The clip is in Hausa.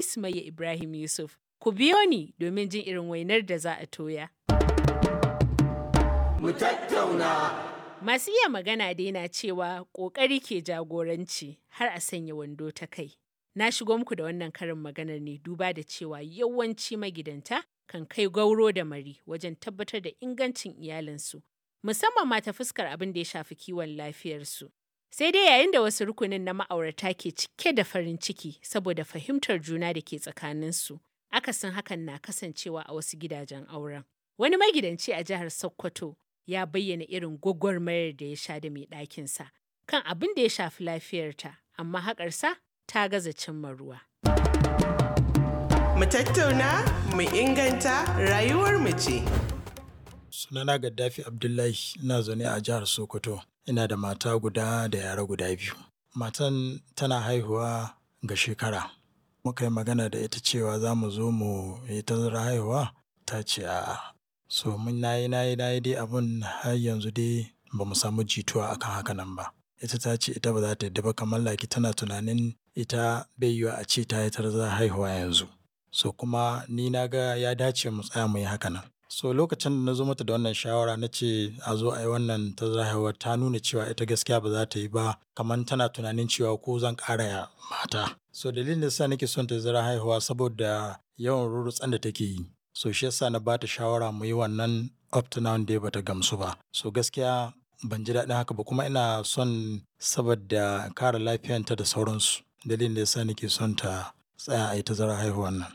Sumayya Ibrahim Yusuf. Ku biyo ni domin jin irin wainar da za a toya. Mu tattauna. Masu iya magana dai na cewa ƙoƙari ke jagoranci har a sanya wando ta kai. Na shigo muku da wannan karin maganar ne duba da cewa yawanci magidanta kan kai gauro da mari wajen tabbatar da ingancin iyalinsu, musamman ma ta fuskar abin da ya shafi kiwon lafiyarsu. Sai dai yayin da wasu rukunin na ma'aurata ke cike da farin ciki saboda fahimtar juna da ke tsakaninsu, akasin hakan na kasancewa a wasu gidajen auren. Wani magidanci a jihar Sokoto ya bayyana irin gwagwarmayar da ya sha da mai ɗakinsa kan abin da ya shafi lafiyarta, amma haƙarsa ta gaza cimma ruwa. Mu tattauna, mu inganta rayuwar mu ce. Sunana Gaddafi Abdullahi, ina zaune a jihar Sokoto. Ina da mata guda da yara guda biyu. Matan tana haihuwa ga shekara. Muka yi magana da ita cewa za mu zo mu yi tazarar haihuwa, ta ce a'a. So mun nayi nayi nayi dai abun har yanzu dai ba mu samu jituwa akan haka nan ba. Ita ta ce ita ba za ta yadda ba, kamar like tana tunanin ita bai yiwuwa a ce ta yi tazarar haihuwa yanzu. So kuma ni na ga ya dace mu tsaya mu yi haka nan. So lokacin da na zo mata da wannan shawara na ce a zo a yi wannan tazarar haihuwa, ta nuna cewa ita gaskiya ba za ta yi ba, kamar tana tunanin cewa ko zan ƙara mata. So dalilin da yasa nake son tazarar haihuwa saboda yawan rurrutsan da take yi. So shi yasa na ba ta shawara mu yi wannan, up to now dai bata gamsu ba. So gaskiya ban ji daɗin haka ba, kuma ina son saboda kare lafiyanta da sauransu. Dalilin da yasa nake son ta tsaya a yi tazarar haihuwan nan.